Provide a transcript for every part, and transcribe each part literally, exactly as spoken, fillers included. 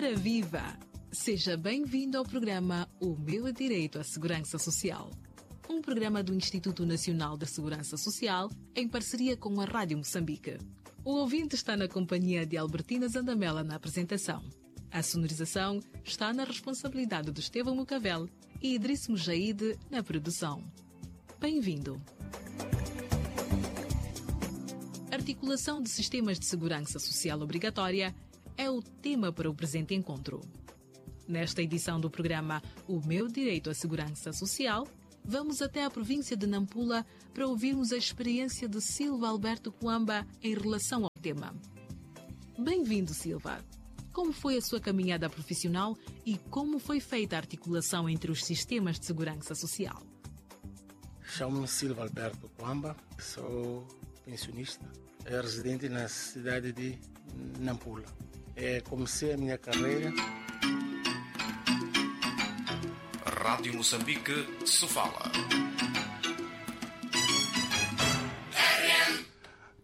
Ora viva! Seja bem-vindo ao programa O Meu Direito à Segurança Social. Um programa do Instituto Nacional da Segurança Social em parceria com a Rádio Moçambique. O ouvinte está na companhia de Albertina Zandamela na apresentação. A sonorização está na responsabilidade de Estevão Mucavel e Idriss Mujaide na produção. Bem-vindo! Articulação de sistemas de segurança social obrigatória é o tema para o presente encontro. Nesta edição do programa O Meu Direito à Segurança Social, vamos até a província de Nampula para ouvirmos a experiência de Silva Alberto Cuamba em relação ao tema. Bem-vindo, Silva! Como foi a sua caminhada profissional e como foi feita a articulação entre os sistemas de segurança social? Chamo-me Silva Alberto Cuamba, sou pensionista, residente na cidade de Nampula. É, comecei a minha carreira. Rádio Moçambique, Sofala.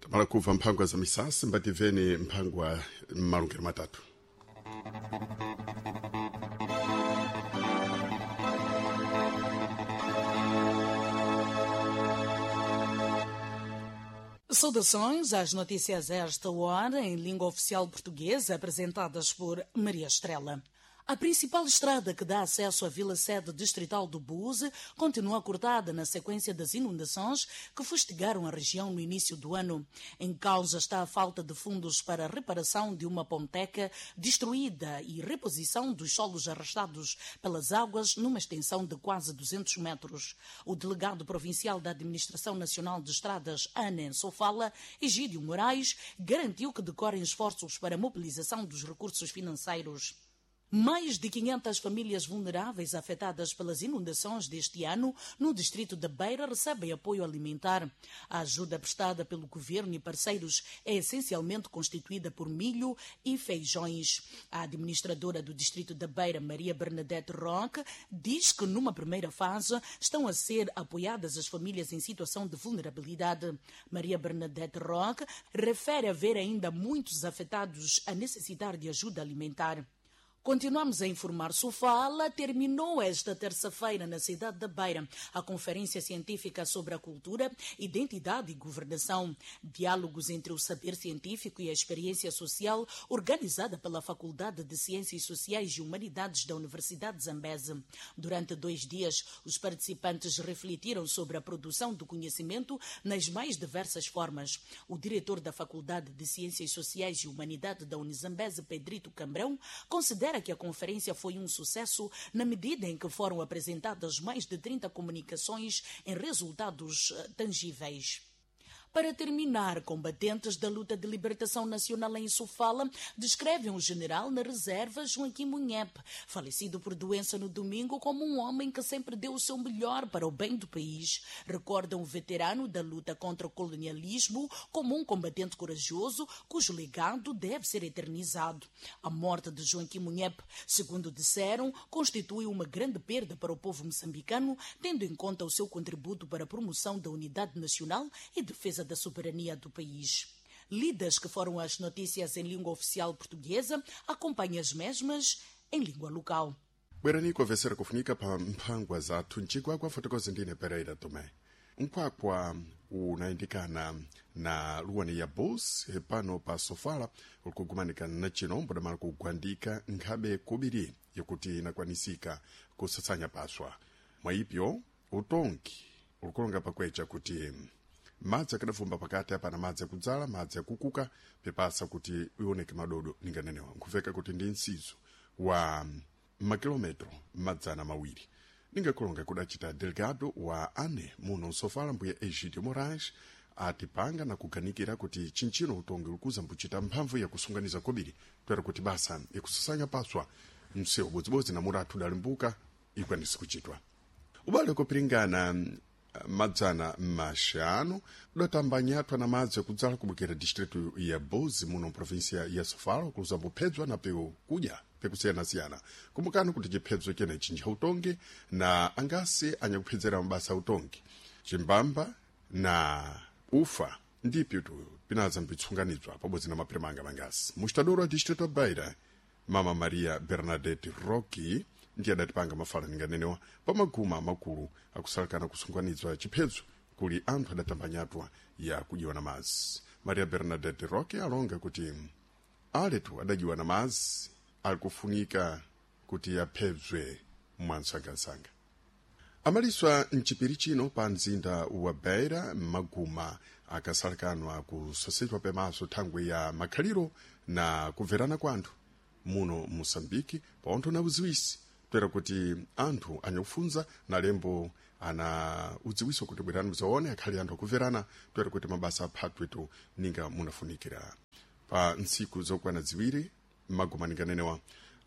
Tamala kuva mphangwa za misasi mbativeni mphangwa malungelo matatu. Saudações às notícias a esta hora em língua oficial portuguesa, apresentadas por Maria Estrela. A principal estrada que dá acesso à vila sede distrital do Buze continua cortada na sequência das inundações que fustigaram a região no início do ano. Em causa está a falta de fundos para a reparação de uma ponteca destruída e reposição dos solos arrastados pelas águas numa extensão de quase duzentos metros. O delegado provincial da Administração Nacional de Estradas, ANEM Sofala, Egídio Moraes, garantiu que decorrem esforços para a mobilização dos recursos financeiros. Mais de quinhentas famílias vulneráveis afetadas pelas inundações deste ano no distrito da Beira recebem apoio alimentar. A ajuda prestada pelo governo e parceiros é essencialmente constituída por milho e feijões. A administradora do distrito da Beira, Maria Bernadette Roque, diz que numa primeira fase estão a ser apoiadas as famílias em situação de vulnerabilidade. Maria Bernadette Roque refere haver ainda muitos afetados a necessitar de ajuda alimentar. Continuamos a informar. Sofala terminou esta terça-feira na cidade da Beira a Conferência Científica sobre a Cultura, Identidade e Governação. Diálogos entre o saber científico e a experiência social, organizada pela Faculdade de Ciências Sociais e Humanidades da Universidade de Zambeze. Durante dois dias, os participantes refletiram sobre a produção do conhecimento nas mais diversas formas. O diretor da Faculdade de Ciências Sociais e Humanidades da Unizambeze, Pedrito Cambrão, considera que a conferência foi um sucesso na medida em que foram apresentadas mais de trinta comunicações em resultados tangíveis. Para terminar, combatentes da luta de libertação nacional em Sofala descrevem o general na reserva Joaquim Munhep, falecido por doença no domingo, como um homem que sempre deu o seu melhor para o bem do país. Recordam o veterano da luta contra o colonialismo como um combatente corajoso cujo legado deve ser eternizado. A morte de Joaquim Munhep, segundo disseram, constitui uma grande perda para o povo moçambicano, tendo em conta o seu contributo para a promoção da unidade nacional e defesa da soberania do país. Lidas que foram as notícias em língua oficial portuguesa, acompanhe as mesmas em língua local. Bwerani kwavesera kufunika pa mphangwa zathu mcigwagwa fotokozi ndine Pereira Tomé. Nkhwakhwa unayindikana na luwani ya Bulls pano pa Sofala ulikugumanika na chino mbudamala kugwandika nkhabe kubiri yakuti inakwanisika kusatsanya paswa. Mwaipyo utongi ulikulonga pakwecha kuti madzi akadafumba pakati apana madzi akudzala madzi akukuka pepasa kuti ioneke madodo ninganenewa nkufeka kuti ndi msizo wa makilometro madzana mawiri ningakulonga kudacita delegado wa ane muno Sofala mbuya Egidio Moraes atipanga na kuganikira kuti chinchino utongi ulikuza mbuchita mphamvu yakusunganiza kobiri twera kuti basa ikusasanya paswa msewu bodzibodzi na muratu udalimbuka ikwanisi kuchitwa ubale kupiringana madzana maxanu udatamba nyathwa na madzi akudzala kubukira distritu ya Bozi muno província ya Sofala kuluza mbuphedzwa na peu kudya pekusiyana-siyana kumbukani kuti chiphedzo chenechi nchautongi na angasi anyakuphedzera mabasa autongi chimbamba na ufa ndipyo tu pinaza mbitsunganidzwa pabodzi na mapiremanga mangasi mustadoro wa distrito ya Beira Mama Maria Bernadette Rocky ndiye adatipanga mafalaninganenewa pamaguma makulu akusalakana kusunganidzwa chiphedzo kuli anthu adatambanyatwa ya kujiwa na mazi. Maria Bernadette Rocky alonga kuti aletu adajiwa na mazi alikufunika kuti aphedzwe mwansangasanga. Amaliswa mchipiri chino pa mzinda wa Beira maguma akasalakanwa kusasidwa pemaso thangwe ya makhaliro na kubverana kwa anthu muno Moçambique paontho na uziwisi toera kuti anthu anyakufunza na lembo ana udziwiso kuti bwerani mudzaone akhali anthu akubverana toera kuti mabasa aphatwetu ninga munafunikira. Pa ntsiku zokwana ziwiri maguma ninganenewa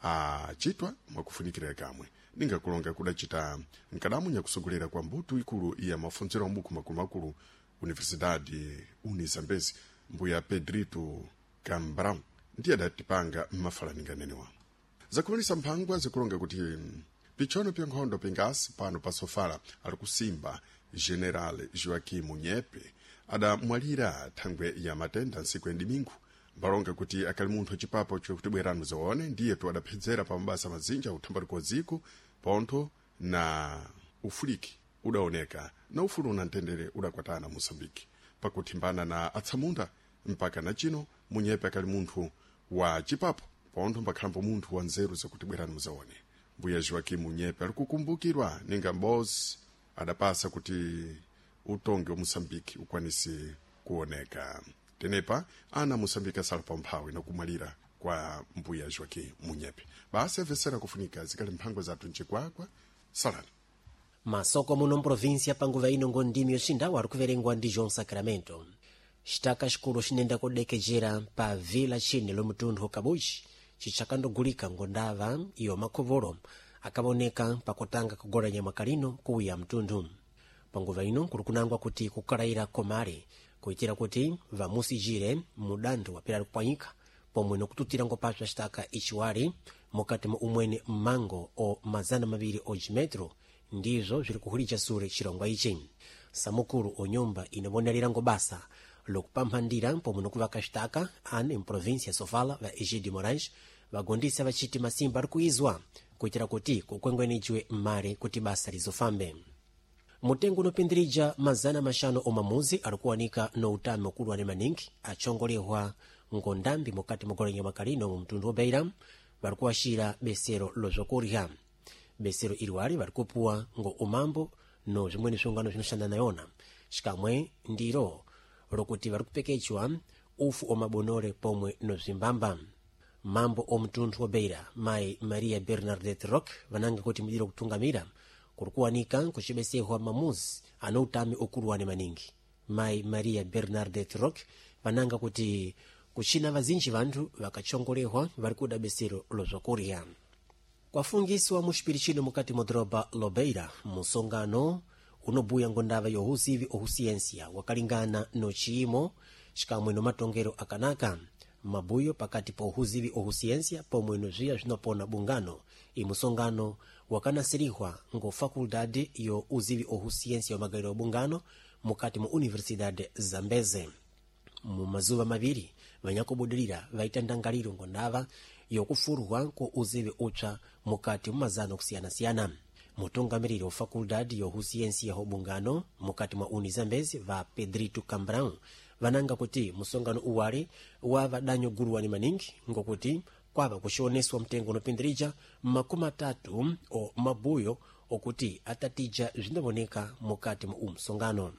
achitwa mwakufunikira kamwe ningakulonga kudacita nkadamu nyakusogolera kwa mbuto ikulu ya mafunziro a mbuku makulumakulu Universidade Unizambezi mbuya Pedrito Cambrão ndiye adatipanga mmafalaninganenewa. Zakumanisa mphangwa zikulonga kuti pichono pya nkhondo pingasi pano pa Sofala ali kusimba General Joaquim Munyepe adamwalira thangwe ya matenda ntsiku ya domingo. Mbalonga kuti akali munthu achipapo chokuti bwerani muzaone ndiyetu adaphedzera pa mabasa mazinja uthambaliko dziko pontho na ufuliki udaoneka na ufulu na mtendere udakwatana Moçambique pakuthimbana na atsamunda mpaka na chino. Munyepe akali munthu wa chipapo pontho mbakhalambo munthu wa nzeru zakuti bwerani muzaone. Mbuya Joaquim Munyepe ali kukumbukirwa ninga mbozi adapasa kuti utongi wa Moçambique ukwanise kuoneka. Tenepa ana Moçambique asala pamphawi nakumwalira kwa mbuya Joaquim Munyepe. Basi avesera kufunika zikali mphangwa zathu mchikwakwa salani masoko muno mprovinsia panguva ino ngo ndimi yoxindawu ari kuverengwa ndi João Sacramento. Xitaka xikulu xinenda kudekejera pa vila chine lomutunthu Kabuchi cicakandogulika ngondava iyo makhovolo akavoneka pakutanga kugola nyama kalino kuwiya mtunthu. Panguva ino kuli kunangwa kuti kukalayira komale kuitira kuti vamusijire mudantho wapera kupwanyika pomwe nokututira ngopaswa xitaka ichiwali mukati mwa umwene mmango o mazana maviri o jimetro ndizvo zviri kuhulija sure chirongwa ichi. Samukulu o nyumba inavonelera ngobasa lokupamphandira pomwe nokuvaka xitaka ane mprovinsia ya Sofala va Egidio Moraes vagondisa vachiti masimba ari kuizwa kuitira kuti kukwengwenejwe mmare kuti basa lizofambe. Mutengo unopindirija mazana maxanu omamuzi ari kuwanika no utami ukuluwane maningi achongolehwa ngondambi mukati mogolenya makalino mu mtundu wa Beira vari kuwaxira besero lozvokurya. Besero iliwali vari kupuwa ngo umambo no zvimweni sviungano zvinoshanda nayona xikamwe ndiro lokuti vari kupekechwa ufu omabonore pomwe no zvimbamba. Mambo omutunthu wa Beira mayi Maria Bernadette Rock vananga kuti mudiro kutungamira kuri kuwanika kucibesehwa mamuzi ana utami ukuluwane maningi. Mayi Maria Bernadette Rock vananga kuti kuchina vazinji vanthu vakachongolehwa vari kuda besero lozvakurya. Kwafungisiwa muxipiri chino mukati mwa doroba Lobeira musongano unobuya ngondava yohuzivi ohusiensia wakalingana no chiyimo xikamwe no matongero akanaka mabuyo pakati pa uhuzivi ohusiensia pomwe no zviya zvinopona bungano. Imusongano wakanasirihwa ngo faculdade yo uzivi ohusiensia wa magaliro bungano mukati mu Universidade Zambeze. Mu mazuva maviri vanyakubudirira vaita ndangaliro ngondava yokufurwa ku uzivi upsa mukati mu mazano kusiyana-siyana. Mutungamiriri wa faculdade yohusiensia ho bungano mukati mwa Unizambezi va Pedrito Cambrão vananga kuti musongano uwali wava danyo guluwani maningi ngokuti kwava kuxioneswa mtengo unopindirija makumi atatu o mabuyo okuti atatija zvinavoneka mukati mwa umusongano.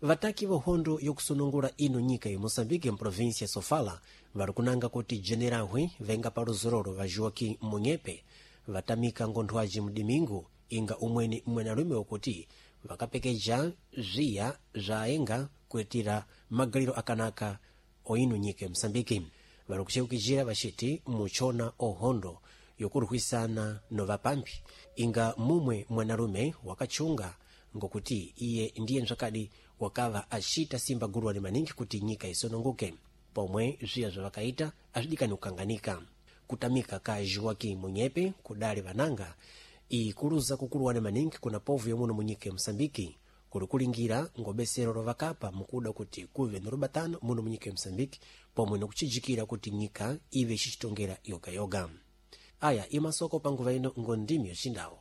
Vataki va hondo yokusunungula ino nyika ya Moçambique mprovinsia ya Sofala vari kunanga kuti generahwe venga pa luzororo va Joaquim Munyepe vatamika ngonthwaji mdimingu inga umweni mwenalume wokuti vakapekeja zviya zvaenga kuitira magaliro akanaka oino nyika ya Moçambique. Vari kuceukijira vaciti muchona ohondo yokurwisana no vapambi inga mumwe mwanalume wakachunga ngokuti iye ndiye nzvakadi wakava acita simba guruwani maningi kuti nyika isununguke pomwe zviya zvavakaita azvidikani kukanganika. Kutamika ka Joaquim Munyepe kudali vananga ikuluza kukuluwani maningi kuna povu yomuno munyika ya Moçambique kuli kulingira ngobesero lovakapa mukuda kuti kuve norubatano muno munyika ya Moçambique pomwe nokucijikira kuti nyika ive icicitongera yogayoga. Aya imasoko panguva ino ngondimi yoxindawo.